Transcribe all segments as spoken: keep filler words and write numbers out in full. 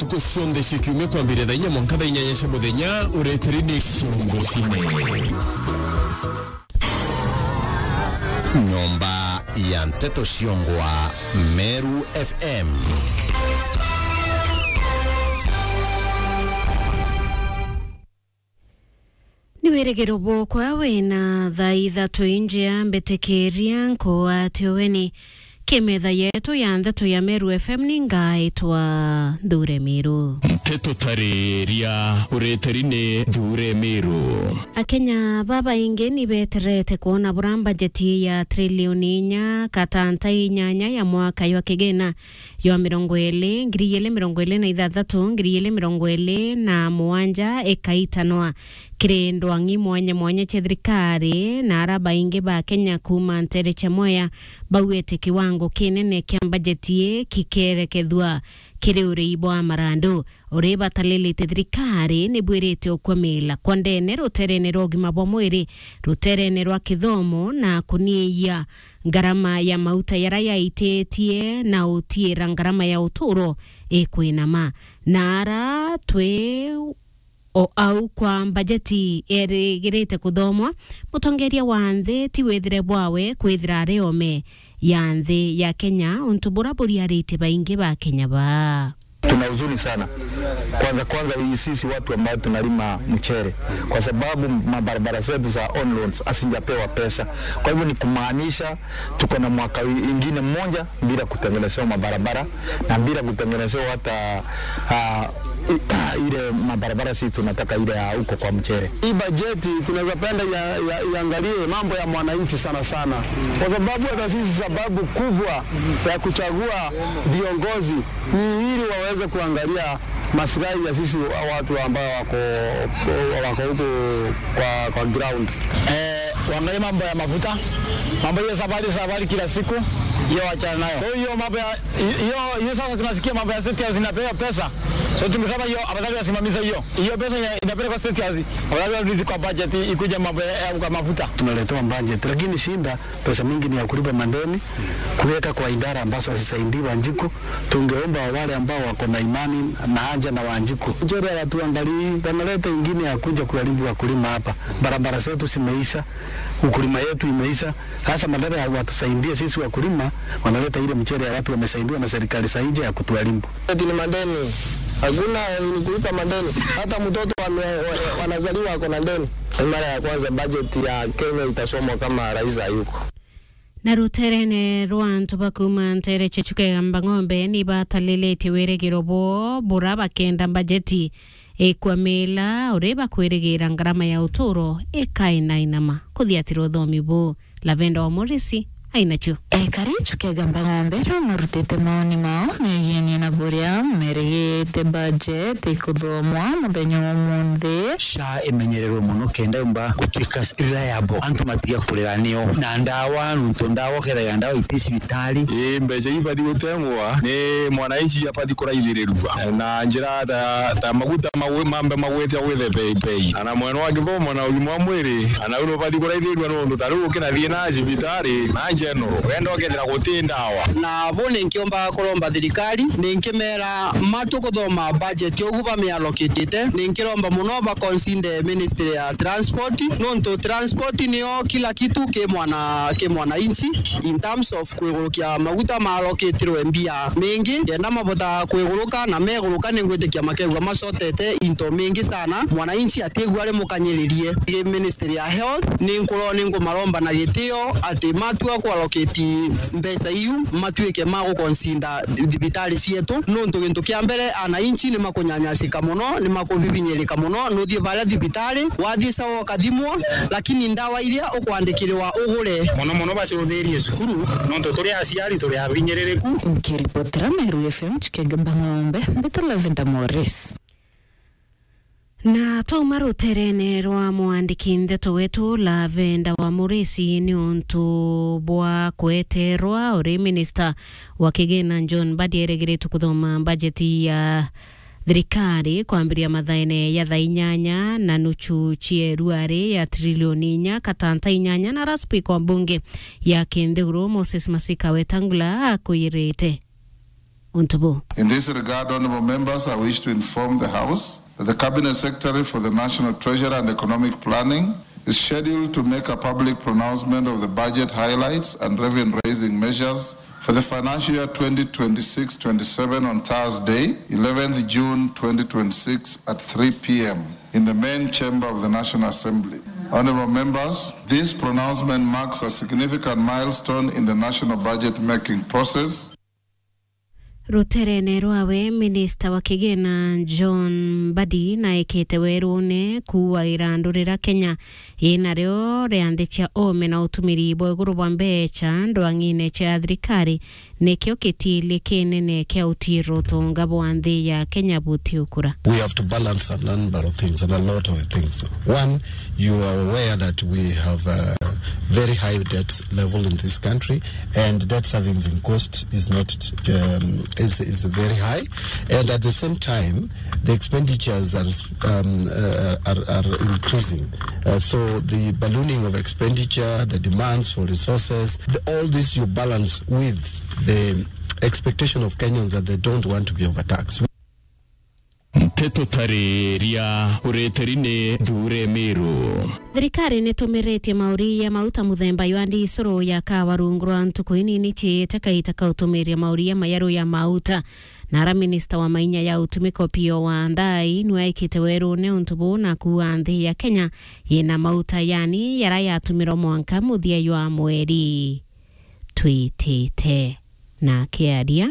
Ntuku cionthe cia kiumia kwambiria thaa inya mwanka thaa inyanya cia muthenya, ureteri ni Ciongo Cine. Nyomba ya Nteto Ciongwa, Meru F M. Ni wirigiro bwokwa wina thaa ithatu injia mbitikiria nkuatio weni. Kimetha yetu ya ndeto ya Meru F M ni ngaitwa Nthure Miru. Nteto tariria ureteri ni Nthure Miru. Akenya babaingi ni beterete kwona bura mbajeti ya trilioni inya katanta inyanya ya mwaka jwa kigina jwa mirongo iri, ngiri igiri mirongo iri na ithathatu, ngiri igiri mirongo iri na mugwanja ikaitanwa kiri ndwang'i mwanya mwanya cia thirikari, na ara baingi ba Kenya kuuma nteere cia Mwea bauite kiwango kinene kia mbajeti ii kikerekethua kiri urii bwa marandu. Urii batalilite thirikari ni bwirite ukwamila kwa ndene ruterene rwa ugima bwa mwiri, ruterene rwa kithomo na kunyiia ngarama ya mauta yara yaititie na utiira ngarama ya uturo ikwinama. Na ara twi o au kwa mbajeti erigirite kuthomwa, mutongeria wa nthi ti withire bwawe kwithira ari ome ya nthi ya Kenya, untu bura buriaritie baingi ba Kenya baa. Tuna huzuni sana. Kwanza kwanza hii sisi watu ambao tunalima mchere, kwa sababu mabarabara zetu za on loans hazijapewa pesa. Kwa hivyo ni kumaanisha tuko na mwaka wi-, ingine mmoja bila kutengenezewa mabarabara na bila kutengenezewa hata, ah, i-, ile mabarabara sisi tunataka ile ya huko kwa mchere. Hii bajeti tunaweza penda ya, ya, iangalie mambo ya mwananchi sana sana, kwa sababu hata sisi sababu kubwa ya kuchagua viongozi ni ili waweze kuangalia maslahi ya sisi wa-, watu ambao wako, wako huko kwa, kwa ground. Eh, waangalie mambo ya mafuta, mambo hiyo safari, safari kila siku, hiyo wachana nayo. Kwa hiyo mambo ya, hiyo, hiyo sasa tunasikia mambo ya State House inapewa pesa. So tungesema hiyo, afadhali wasimamishe hiyo. Hiyo pesa ina-, inapelekwa State House, afadhali warudi kwa budget ikuje mambo ya, ya mafuta. Tunaletewa budget, lakini shinda pesa mingi ni ya kulipa madeni, kuweka kwa idara ambazo hazisaidii Wanjiku. Tungeomba wale ambao wako na imani na haja na Wanjiku. Mchere hawatuangalii, wanaleta ingine ya kuja kuharibu wakulima hapa. Barabara zetu zimeisha, ukulima yetu imeisha. Sasa badala ya watusaidie sisi wakulima, wanaleta ile mchere ya watu wamesaidiwa na serikali za nje ya kutuharibu. Ati ni madeni. Hakuna ni kulipa madeni. Hata mtoto ame-, wa-, wanazaliwa ako na deni. Ni mara ya kwanza budget ya Kenya itasomwa kama rais hayuko. Na ruterene rwa antu ba kuuma nteere cia Chuka Igamba Ng'ombe ni batalilitie wirigiro bwoo bura bakenda mbajeti ikwamila uri bakwirigira ngarama ya uturo ikainainama. Kuthiatira uthomi buu, Lavenda wa Morisi ainacio. Ekari Chuka Igamba Ng'ombe riu marutite maoni mao megienie na buria merigite budget ikuthomwa muthenya wa umunthi. SHA imenyererwe mono kenda yumba gutuika reliable, antu matiga kurira nio. Na ndawa, nontu ndawa ukethagira ndawa iti cibitari. Ii, mbeca iu ibathi gutengwa ni mwananchi abathi kuraithirirua na njira ta, ta maguta mawe-, mambe magwite gwithe bei bei. Ana mwena wa kithomo na ugima wa mwiri, ana uru ubathi kuraithirirua nontu ta riu ukina thiina cibitari na general, wenda ukethira guti ndawa. Na bo ninkiomba kuromba thirikari, ninkimera matu kuthoma budget ugu bamiallocatite, ninkiromba mono ba consider ministry ya transport, nontu transport niyo kila kitu ki mwana, ki mwananchi, in terms of kwigurukia maguta marokitirwe mbia mingi, kenda mabota kwiguruka na meguruka, ningwitikia makegua macotete into mingi sana, mwananchi atigua ari mukanyiririe. Gi ministry ya health, ninkuro-, ninkumaromba na gitio ati matua kuallocate mbeca iu, matuike ma guconsider thibitari cietu, nontu gintu kia mbere, ananchi ni makunyanyasika mono, ni makubibinyirika mono. Nuthie baria thibitari, wathie sawa ukathimwa, lakini ndawa iria ukwandikirwa ugure. Mono mono baciuthirie cukuru, nontu turi aciari turi abinyiririku. Nkiripotera Meru F M Chuka Igamba Ng'ombe, mbita Lavenda Morris. Na twauma ruterene rwa mwandiki ndeto wetu Lavenda wa Morisi ni untu bwa kweterwa uri minista wa kigina John Mbadi eregeretwe kuthoma bajeti ya thirikari kwambiria mathaene ya thaa inyanya na nuchu cieru ari ya trilioni inya katanta inyanya, na ara spika wa mbunge ya kinthiguru Moses Masika Wetangula akwirite. untu buu. In this regard, honourable members, I wish to inform the House that the Cabinet Secretary for the National Treasury and Economic Planning is scheduled to make a public pronouncement of the budget highlights and revenue-raising measures for the financial year twenty twenty-six twenty-seven on Thursday, eleventh June twenty twenty-six at three p m in the main chamber of the National Assembly. Honourable members, this pronouncement marks a significant milestone in the national budget-making process. Ruterene rwawe, minista wa kigina John Mbadi naikite werune kuuga irandu riria Kenya inario ria nthi cia ome na utumiri bwa iguru bwa mbecha ndwang'ine cia thirikari nikio kitiili kinene kia utiira utonga bwa nthi ya Kenya butiukura. We have to balance a number of things and a lot of things. One, you are aware that we have a very high debt level in this country, and debt servicing cost is not, um, is, is very high, and at the same time, the expenditures are, um, uh, are, are increasing. Uh, so the ballooning of expenditure, the demands for resources, the, all this you balance with the expectation of Kenyans that they don't want to be overtaxed. Nteto tariria ureteri ni Nthure Miru. Thirikari nitumiritie mauria ya mauta muthemba jwa ndisuru ya kawa rungu rwa ntuku inini ciite kaita ka utumiria mauria majaru ya mauta. Nara minista wa mainya ya utumiko Opiyo Wandayi nwaikite werune untu buu na kuuga nthi ya Kenya yina mauta yani yara yatumirwa mwanka muthia jwa mweri twitite. Na akiaria,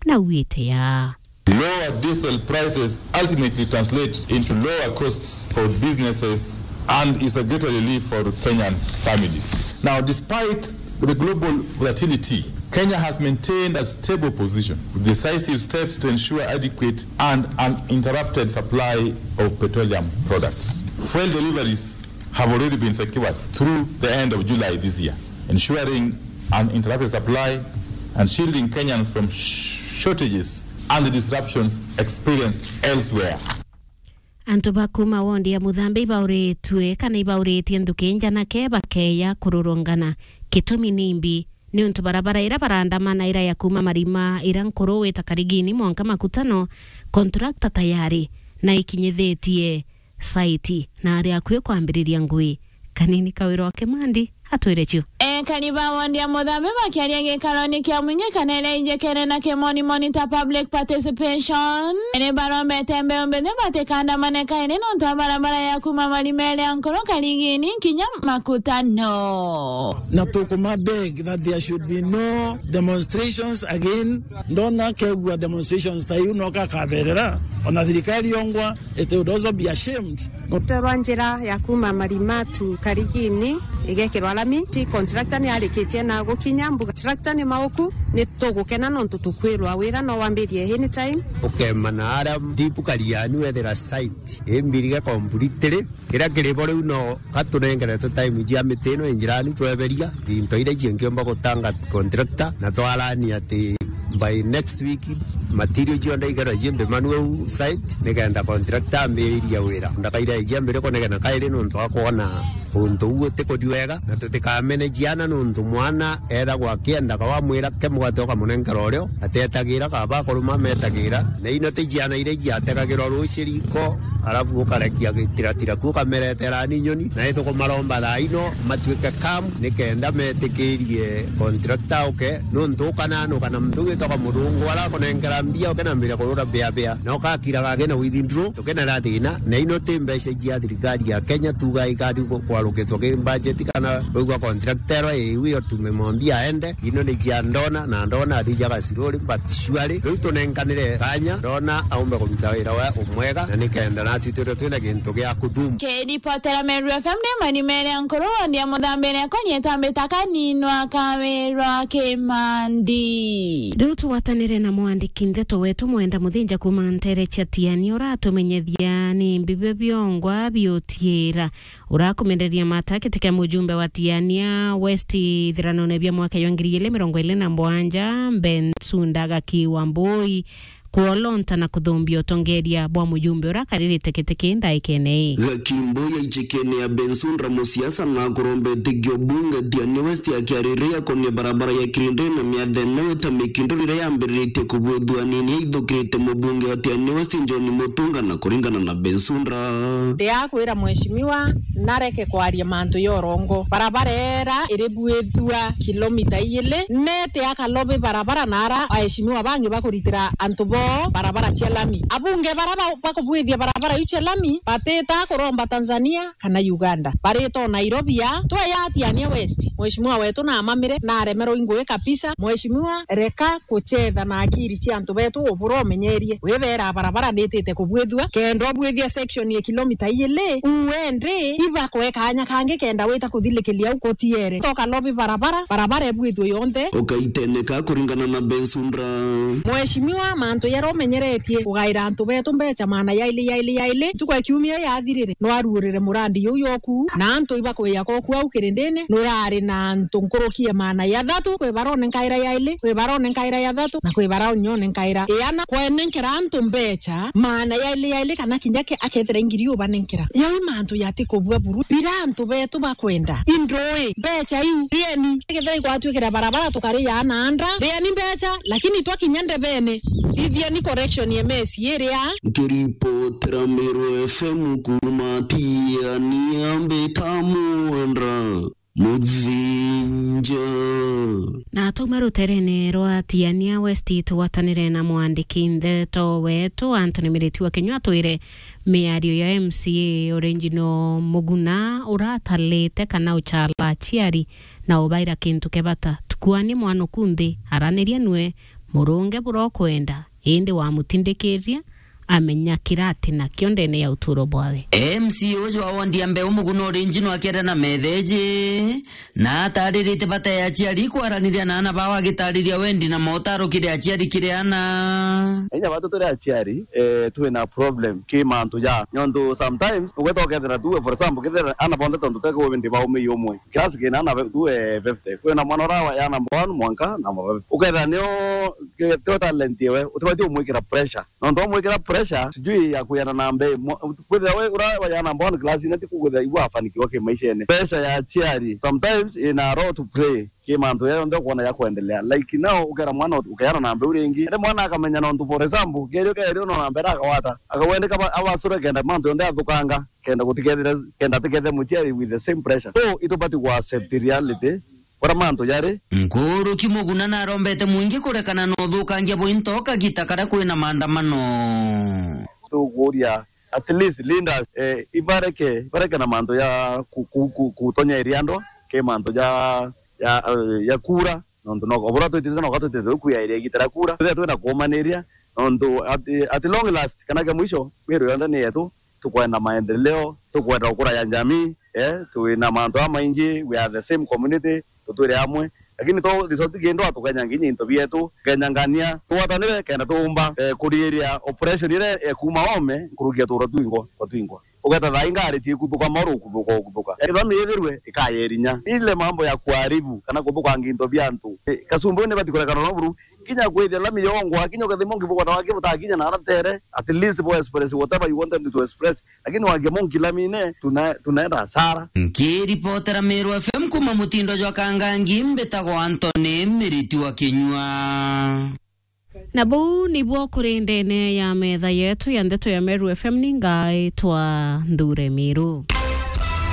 nauite ya. Lower diesel prices ultimately translate into lower costs for businesses and is a greater relief for Kenyan families. Now, despite the global volatility, Kenya has maintained a stable position with decisive steps to ensure adequate and uninterrupted supply of petroleum products. Fuel deliveries have already been secured through the end of July this year, ensuring uninterrupted supply and shielding Kenyans from sh-, shortages and disruptions experienced elsewhere. Antu ba kuuma wondi ya Muthambi ibauritue kana ibauritie nthuki njanake bakeeja kururungana. Gitumi nimbi? Niuntu barabara ira barandamana ira ya kuuma Marima ira nkuru wita Karigini mwanka Makutano, kontrakta tayari na ikinyithitie saiti na ari akui kwambiriria ngui. Kanini Kawira wa Kimandi atwire cio. Ekari ba wondi ya Muthambi bakiaria gikaroni kia mwingi kana iria injekere na kimonimoni ta public participation, ni barombete mbeu mbithi batikandamane kairi nontu wa barabara ya kuuma Marima iria nkuru Karigini kinya Makutano. Na tukuma beg that there should be no demonstrations again. Ndona kegua demonstrations ta iu no kakaberera, ona thirikari yongwa, it would also be ashamed. Rutwe rwa njira ya kuuma Marima tu Karigini igekirwa lami. Ti contractor ni arikitie na gukinya mbuga. Contractor ni mauku, ni tugukena nontu tukwirwa wira no wambirie anytime. Ukemana aria deep Kariani wethira site imbirige completely. Kiria kiri bo riu no katunengeretwe time cia miti ino injirani tweberia into iria ciengiomba gutanga contractor na twarani ati by next week material cionthe ikerwa cimbimanu au site nikenda contractor ambiririe wira. Ndakaira ijia mbiri kunegena kairi nontu wa kwona untu uu utikuthi wega na tutikamene ciana nontu mwana eragwa akiendaga wamwira ke mugate ukamunenkera urio atetagira kaba akuruma metagira na ino ti ciana iria ciategagirwa ruciri iko arafu ukarekia gitiratira ku ukameretera ni nyoni na itukumaromba thaa ino matuike kam nikenda metikirie contractor uke nontu ukananuka na muntu witagwa murungu ara kunenkera mbia ukenambiria kurura bia bia na ukakiraga kena withindro tukenera thina na ino ti mbeca cia thirikari ya Kenya tuga ikari kwarukitwo ki budget kana kwigua contractor ero iwi otume mwambia aende ino ni cia ndona na ndona athi cia gaciruri but surely riu tunenkanire kanya ndona aumbe kuruta wira we umwega na nikenda natu twirwe twina gintu gia kudumu. Kiripotera Meru F M ni mani mere nkuru wondi ya Muthambi iria ikonye tambi ta kaninwa Kawira wa Kimandi. Riu tugwatanire na mwandiki ndeto wetu Mwenda Muthinja kuuma ntere cia Tiania uratumenyethia ni mbi bia biongwa biutiira. Urakumenderia mata giti kia mujumbe wa Tiania West ithiranone bia mwaka jwa ngiri igiri mirongo iri na mugwanja, Bensouda Gaki Wambui, kwolonta na kuthumbia utongeria bwa mujumbe uria akaririte giti kii ndaikene ii. Gakimbo ya ichikene ya Bensundra musiasa na kurombete kio bunge Tiani West akiariria akonia barabara ya Kirindini na miathene weta mikindo riria yambiriritie kubwithua nini yaithukirite mubunge wa Tiani West John Mutunga na kuringana na Bensundra. Ndiakwira mheshimiwa nareke kwaria mantu ya urongo. Barabara era iribwithua kilomita igiri, nete akalobe barabara na ara aheshimiwa bangi bakuritira antu boo barabara cia lami. Abunge bara ba-, bakubwithia barabara iu cia lami batita kuromba Tanzania kana Uganda. Barita o Nairobi ya, tweya Tiania West. Mheshimiwa wetu namamire, naremerwa i ngugi kabisa. Mheshimiwa, reka kuchetha na akiri cia antu betu, ubura umenyerie. Wibera barabara nitite kubwithua, kenda ubwithia section ya kilomita igiri, uende, ibakwe kanya kangi kenda wita kuthilikiria au kutiere. Toka lobi barabara, barabara ibwithue yonthe. Ukaiteneka kuringana na Bensundra. Mheshimiwa, mantu jaria umenyeretie kugaira antu betu mbecha maana yaili, yaili, yaili, ntuku ya kiumia yathirire, nwaruurire murandi juu joku, na antu ibakwija koku au Kirindini, nurari na antu nkuruki ya maana jathatu, kwi bara unenkaira yaili, kwi bara unenkaira jathatu, na kwi bara unyonenkaira iana. Kwenenkera antu mbecha maana yaili, yaili, kana kinya ke-, akethira i ngiri ubanenkera. Jau i mantu jati kubua buru. Bira antu betu bakwenda. Indui, mbecha iu, rieni. Kethira igwatwikira barabara tukaria na anda, rieni mbecha, lakini twakinya ndebene, ithieni correction ya M C A iria. Nkiripotera Meru F M kuuma Tiania, mbita Mwendra Muthinja. Na twauma ruterene rwa Tiania West, tugwatanire na mwandiki ndeto wetu Anthony Miriti wa Kinyua, atwire miario ya M C A Original Muguna uratalite kana uchala aciari na ubaira kintu kia bata. Tukuani mwana uku nthi, araniria nwe, murunge bura ukwenda, indi wamutindikiria amenya kira ati nakio ndene ya uturo bwawe. M C A uju wa wondi ya Mbeu Muguna Original akiaria na metheji, na ataririte bata ya aciari kwaraniria na ana bao, agitariria wendi na motaro kiri aciari kiri ana. Inya batu turi aciari, eh, twina problem ki mantu ja. Nontu sometimes ugeta ukethira tu, for example, kethira ana bonthe tontu teke wendi baumei umwe. Class kina ana be-, tu, eh, fifty. Kwina mwana ura wa ya number one mwanka number five. Ukethira nio ke-, tio talent yewe, utibati umwikira pressure. Nontu wamwikira pressure, sijui ya kuyana na mbei. Mwa-, kwithira we ura wajana mbona class ina ti kukwithira igua afanikiwa ki maishene. Pressure ya aciari sometimes ina role to play ki mantu ya yonthe ukwona ya kuendelea. Like now, ukera mwana ut-, ukeyana na mbeu ringi. Ende mwana akamenya nontu, for example, kerio kerio no na mbere akawata. Akawendeka ba-, abasure kenda mantu yonthe athukanga. Kenda gutikethire, kenda atikethe muciari with the same pressure. So, itubati ku accept reality. Kura mantu jari. Nkuruki Muguna narombete mwingi kurekana na uthukangia bwa into kagita karia kwina maandamano. Tukuria at least leaders, eh, ibareke, ibareke na mantu ja ku-, ku-, ku-, kutonyeria andwa, ke mantu ja, ja, eh, ja kura, nontu no, obura twitite no gatwitite kuya area igita ria kura. Twithira twina kuumaniria, nontu at, at long last, kana kia mwisho, miru yonthe ni yetu, tukwenda maendeleo, tukwenda gukura ya jamii, eh, twina mantu jamaingi, we are the same community, tutwire amwe. Lakini to result kindu atukenya nginya into bietu, kenya ngania, twatanire kenda tuumba, eh, kuriiria oppression iria, eh, kuma ome, nkuruki ya tuura twingwa, kwa twingwa. Ugeta thaa ingari ciikuthuka mauru ukuthuka, ukuthuka. Eh, lami ithirwe, ikayerinya. Ile mambo ya kuharibu, kana kuthukangia into bia antu. Eh, kasumbu ni bati kurekana na buru, kinya kwithia lami yongwa, kinya ukethimwa ngibuka na wake butakinya na aratere, at least bo express whatever you want them to express. Lakini wangia monki lamine, tuna-, tunaenda hasara. Nkiripotera Meru F M kuma mutindo jwa Kangangi, mbitagwa Anthony Miriti wa Kinyua. Na buu nibuo kuri ndene ya metha yetu ya ndeto ya Meru F M, ni ngaitwa Nthure Miru.